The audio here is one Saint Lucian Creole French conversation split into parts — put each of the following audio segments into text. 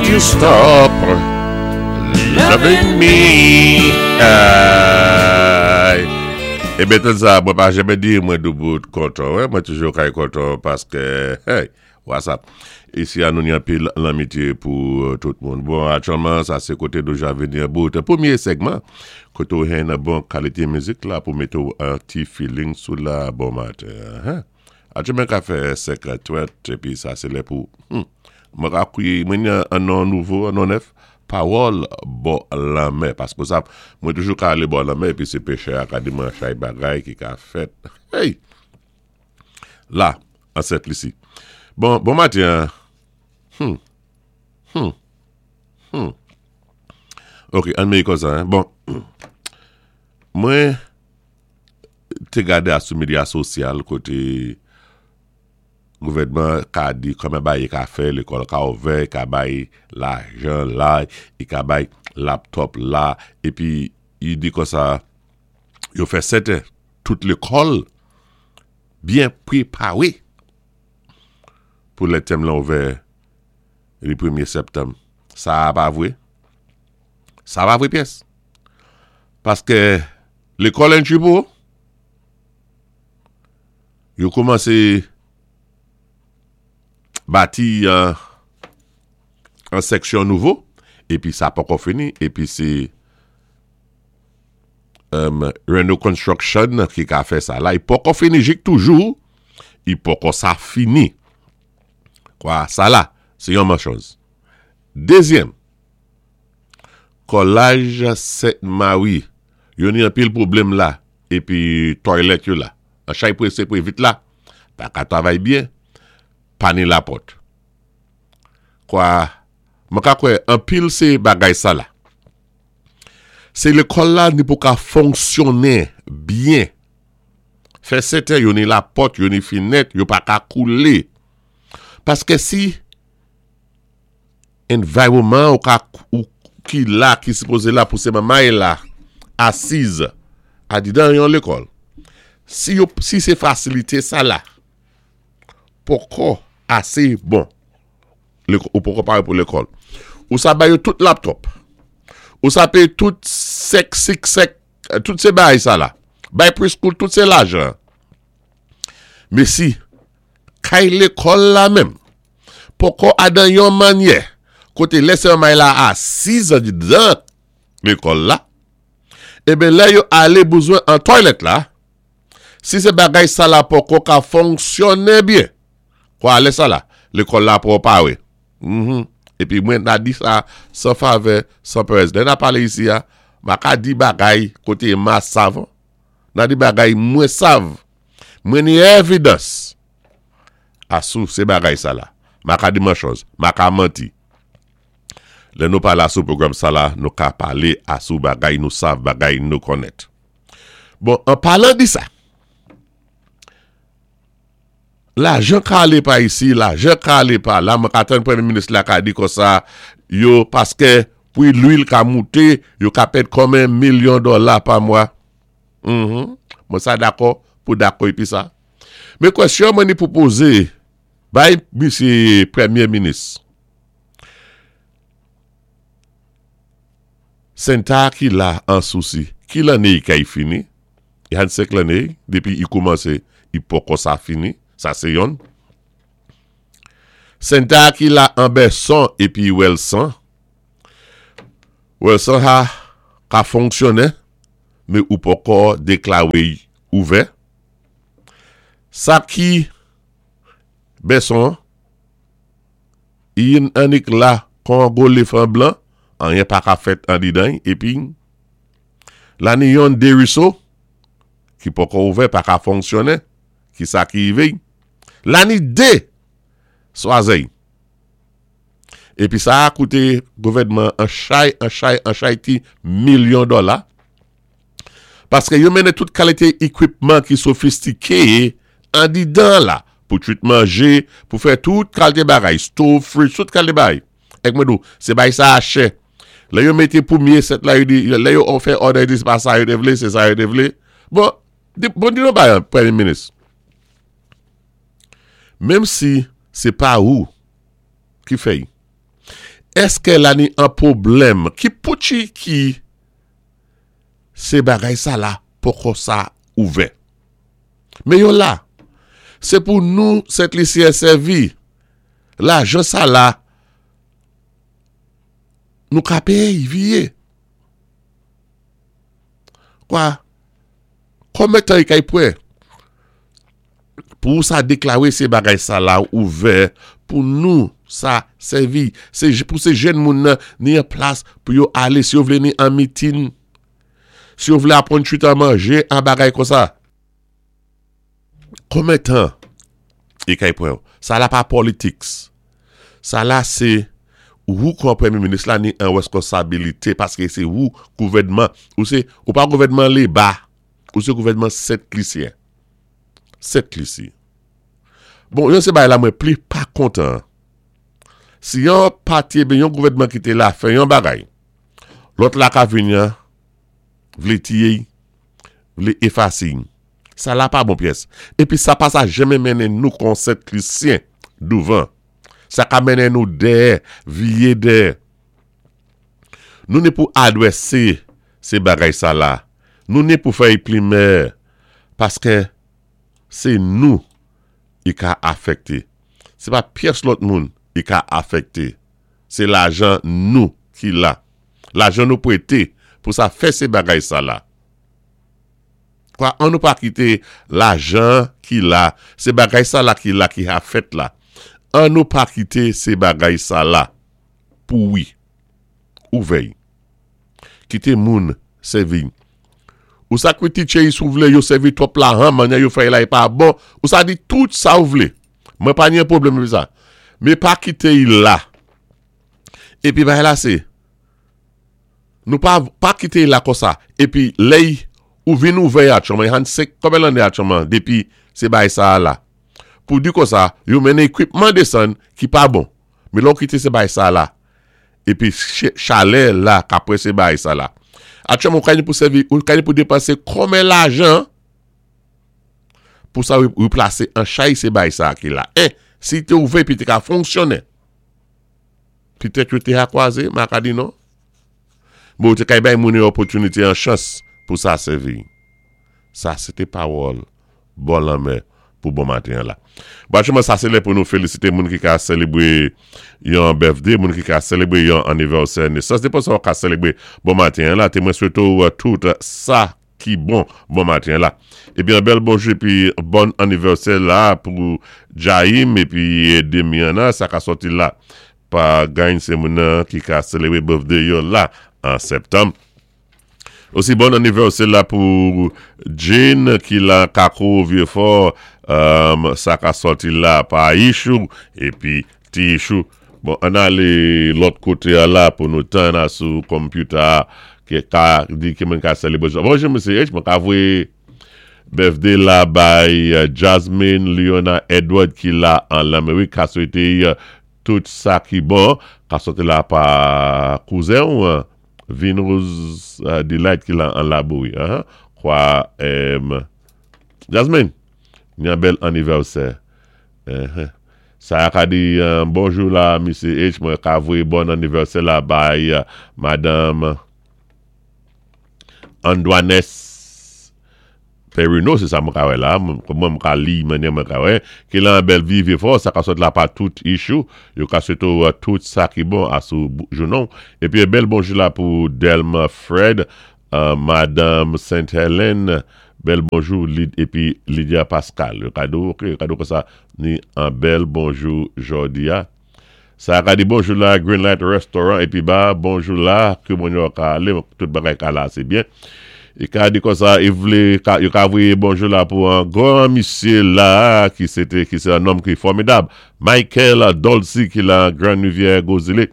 Won't you stop loving me? Ay. Eben tann sa, mwen pa janmen di mwen doubout kontan. Wè, mwen toujou kay kontan paske, hey, what's up? Isi a nou ni anpil lanmitye pou tout moun. Bon, aktyèlman, sa sé koté nou ja vini an bout. Pwémyé sègman, koté ou jwenn bon kalité mizik la pou mété ou an ti feeling sou la bon maten. Hein? Aktyèlman ka fè 5h30 épi sa sé lè pou hum mwen ka kwi mwen ni an non nouvo an non nèf pawòl bò lanmè paske ou sav mwen toujou ka alé bò lanmè épi sé pechè a ka di mwen chay bagay ki ka fèt hey la an Sent Lisi bon bon maten an hum hum hum ok ann meye konsa hein bon mwen. te gade a sou medya sosyal kote gouvènman ka di kòman bagay yo ka fè, lekòl ka ouvè, ka bay lajan la, i ka bay laptop la, epi yi di konsa yo fè sèten tout lekòl byen prepare pou lè tèm lan ouvè li premye septanm. Sa a pa vre? Sa pa vre pyès. Paske Lekòl entry pou yo koumanse bati an seksyon nouvo epi sa poko fini epi se Reno Construction ki ka fè sa la i poko fini jik toujou i poko sa fini kwa sa la se yon manchòz dezyèm Kòlaj Sent Mari yo ni anpil pwoblèm la epi tòylèt yo la an chay prese pre vit la pa ka travay byen pa ni lapòt kwa mwen ka kwè anpil se bagay sa la se lekòl la ni pou ka fonksyonnen byen fè sèten yo ni lapòt yo ni finèt yo pa ka koule paske si Environment ou ka ou ki la ki sipoze la pou se manmay la asiz adidan yon lekòl. Si yo si se fasilite sa la poko ase bon ou poko pare pou lekòl. Ou sa bay yo tout laptop. Ou sa peye tout sèk sik sèk tout se bagay sa la. Bay preschool tout se lajan. Mesi kay lekòl la menm poko adan yon manyè kote lè sè may la asiz andidan lekòl la, eben lè yo ale bezwen an toilet la, si se bagay sa la poko ka fonksyonnen byen, kwa lè sa la, lekòl la poko pare. Mh, epi mwen ta di sa san favè, san perèz. Lè na pale isi a, ma ka di bagay kote ma sav, na di bagay mwen sav, mwen ni evidans. Asou se bagay sa la. Ma ka di manchòz, ma ka manti. Lè nou pale asou pwogram sa la, nou ka pale asou bagay nou sav, bagay nou konnèt. Bon, an palan di sa, lajan ka ale pa isi, lajan ka ale pa la, mwen ka tann premye minis la ka di konsa, yo, paske pri lwil ka moute, yo ka pèd konmen milyon dòla pa mwa. Mwen sa dakò pou dakò epi sa. Men kwèsyon mwen ni pou poze bay misye premye minis. Senta ki la an sousi, ki lanne i kay fini? I han 5 lanne depi i koumanse i poko sa fini, sa se yonn. Senta ki la an bèson epi wèlsan, wèlsan ha ka fonksyonnen men ou poko deklare y ouvè. Sa ki bèson an, yn annik la kon an gwo lefan blan, anyen pa ka fèt andidan y epi la ni yon deriso ki poko ouvè pa ka fonksyonnen, ki sa ki rive y? La ni de swazèy. Epi sa a koute gouvènman an chay, an chay, an chay ti milyon dòla. Paske yo mennen tout kalite equipman ki sofistike andidan la pou twit manje, pou fè tout kalte bagay, stove, fridge, tout kalte bagay. Ek mwen di w, se bagay sa a chè. Lè yo mete premye set la, yo di, lè yo fè order, yo di se pa sa yo te vle, se sa yo te vle. Bon, di, bon di nou bagay, Premye Minis. Menm si se pa ou ki fè y. Èskè la ni an pwoblèm ki pouchi ki sé bagay sa la poko sa ouvè? Men yo la. Sé pou nou Sentlisyen sèvi. Lajan sa la nou ka péyé y vié. Kwa, konbyen tan i kay pwan pou ou sa deklare se bagay sa la ouvè pou nou sa sèvi, se pou se jèn moun nan ni an plas pou yo ale si yo vle ni an mitin, si yo vle aprann chita manje an bagay konsa. Konbyen tan e kay pran yo? Sa la pa politics. Sa la se wou kon premye minis la ni an reskonsabilite paske se wou gouvènman. Ou se, ou pa gouvènman leba, ou se gouvènman Sent Lisyen. Sent Lisi. Bon, yon se bagay la mwen pli pa kontan. Si yon pati ebyen yon gouvènman ki te la fè yon bagay, lòt la ka vini an vle tiye y, vle efase y. Sa la pa bon pyès. Epi sa pa sa janmen mennen nou kon Sent Lisyen douvan. Sa ka mennen nou dèyè, viye dèyè. Nou ni pou adwèse se bagay sa la. Nou ni pou fè y plimè. Paske se nou i ka afekte. Se pa pyès lòt moun i ka afekte. Se lajan nou ki la. Lajan nou pwete pou sa fè se bagay sa la. Kwa an nou pa kite lajan ki la, se bagay sa la ki la ki ha fèt la. An nou pa kite se bagay sa la pouwi. Ouvèy. Kite moun sèvi. Ou sa krititche y si w vle yo sèvi twòp lahan manyè yo fè y la y pa bon. Ou sa di tout sa ou vle. Mwen pa ni pwoblèm avè sa. Men pa kite y la. Epi bagay la se. Nou pa pa kite y la konsa. Epi lè y ou vin ouvè y atchòman, y han 5 konbyen lanne atchòman depi se bagay sa a la. Pou di konsa, yo mennen ekwipman desann ki pa bon. Men lè w kite se bagay sa a la, epi chalè la ka prese bagay sa la. Atchòman ou ka ni pou sèvi, ou ka ni pou depanse konbyen lajan pou sa replase an chay se bagay sa a ki la. 1, si te ouvè epi te ka fonksyonnen. Petèt yo te a kwaze, ma ka di non. Men ou te kay bay moun yon opòtinite, yon chans pou sa sèvi. Sa se te pawòl bò lanmè pou bon maten an la. Bon aktyèlman sa se lè pou nou felisite moun ki ka selebre yon birthday, moun ki ka selebre yon anivèsè nesans. Depan sa ou ka selebre bon maten an la, te mwen swete ou tout sa ki bon bon maten la. Epi yon bèl bonjou epi bòn anivèsè la pou Jaim epi Demiana sa ka sòti la pa gany se moun nan ki ka selebre birthday yo la an septanm. Osi bòn anivèsè la pou Jane ki la kako Vyefò sa ka sòti la pa Ichou epi Ti Ichou. Bon ann ale lòt kote a la pou nou tann a sou computer a ki ka di ki moun ka selebre jodi. Bonjou Mesye H, mwen ka voye birthday la bay Jasmine Leona Edward ki la an Lamerik ka swete tout sa ki bon ka soti la pa kouzen w Vinrose Delight ki la an Labouri kwa Jasmine yon bèl anivèsè. Sa a ka di bonjou la Misye H mwen ka voye bòn anivèsè la bay madanm Andwanes Perino se sa mwen ka wè la mwen mwen ka li manyè mwen ka wè ki lan bèl vi vye fò sa ka sot la pa tout issue yo ka swete w tout sa ki bon a sou jounen w epi bèl bonjou la pou Delma Fred Madanm Saint Helen bèl bonjou Lyd epi Lydia Pascal yo ka di w ok yo ka di w konsa ni an bèl bonjou jodi a sa ka di bonjou la Green Light Restaurant epi ba bonjou la ke moun yo ka ale tout bagay ka la se byen e ka di konsa e vle yo ka voye bonjou la pou an gran misye la ki se te ki se an nonm ki fòmidab Michael Dolcy ki la Grand Rivière Gwo Zile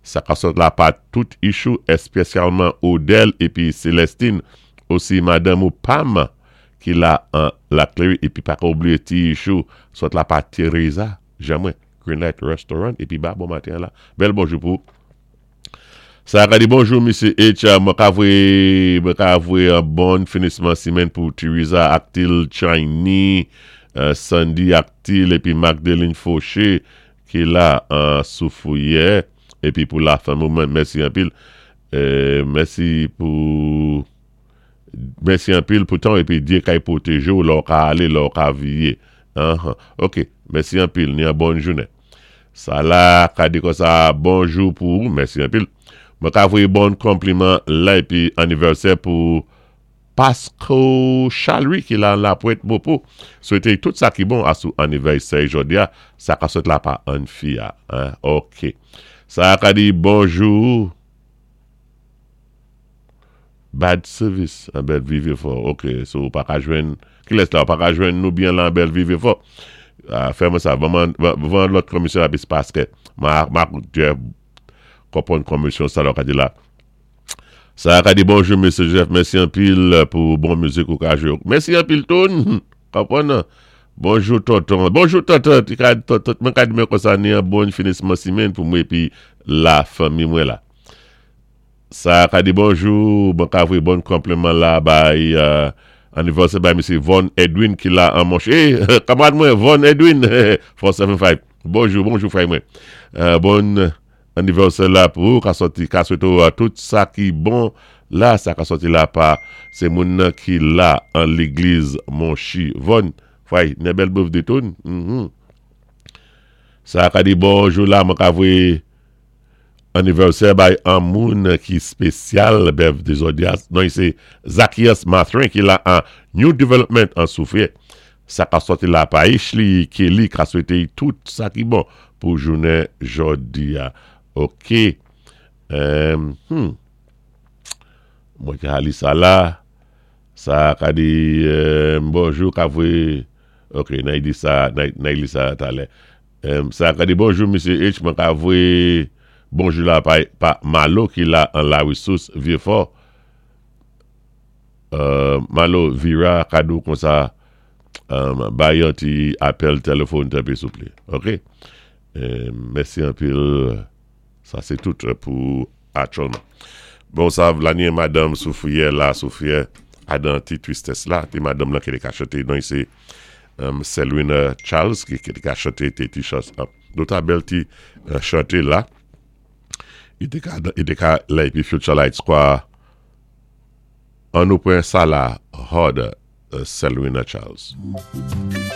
sa ka sot la pa tout Ichou espesyalman Odel epi Celestine osi madanm ou Pam ki la an Laclery epi paka oubliye ti Ichou sot la pa Teresa jan mwen Green Light Restaurant epi ba bon maten an la bèl bonjou pou Sa ka di bonjou Mesye H mwen ka voye mwen ka voye an bon finisman simenn pou Teresa Actil Chiny Sandy Actil epi Magdeline Fauché ki la an Soufouye. épi pou la fanmi mwen. Mèsi anpil. Mèsi pou mèsi anpil pou tan épi Dye kay pwotéjé ou lè ou ka alé, lè ou ka viyé. Ok, mèsi anpil, ni an bòn jounen. Sa la ka di konsa bonjou pou ou, mèsi anpil. Mwen ka voyé bon konpliman la épi anivèsè pou Pasco Chalry ki la la Pwent Mopo. Swété tout sa ki bon asou anivèsè jòdi a, sa ka sot la pa an fi a. Ok. Sa ka di bonjou. Bad service an bèl vive fò. Ok, so ou pa ka jwenn, kilès la ou pa ka jwenn nou byen la an bèl vive fò. Fè mwen sa, van van lòt komisyon la pis paske ma ma dye konprann komisyon sa la ou ka di la. Sa ka di bonjou Mesye Joseph, mèsi anpil pou bon mizik ou ka jwe. Mèsi anpil Tone. Konprann? Bonjou tonton. Bonjou tonton. Ti ka tonton mwen ka di mwen konsa ni an bon finisman simenn pou mwen epi la fanmi mwen la. Sa ka di bonjou, mwen ka voye bon konpliman la bay anivèsè bay mesye Von Edwin ki la an monche. Eh, kamarad mwen Von Edwin 475. Bonjou, bonjou frè mwen. Bon anivèsè la pou ou ka sòti ka swete ou tout sa ki bon la sa ka sòti la pa se moun nan ki la an legliz monchi. Von, frè, ne bèl birthday tou. Sa ka di bonjou la mwen ka voye Anivèsè bay an moun ki spesyal Bev Dezodias non se Zacchias Mathurin ki la an New Development an Soufrière sa ka sòti la pa Ishly Kelly ka swete y tout sa ki bon pou jounen jodi a ok humm mwen ka li sa la sa ka di bonjou ka voye ok nay di sa nay li sa talè. Sa ka di bonjou mesye H mwen ka voye bonjou la pa pa Malo ki la an la resous vieux fort Malo vira ka di w konsa bay yon ti apèl telefòn tanpri souple ok mèsi anpil sa se tout pou aktyèlman bon sa lanye madanm soufriyè la soufriyè adan ti tristès la ti madanm lan ki te ka chante non se Selwina Charles ki te ka chante te ti chans nou ta bèl ti chante la li te ka li te ka lè epi Future Lights kwa an nou pran sa la hard Selwina Charles.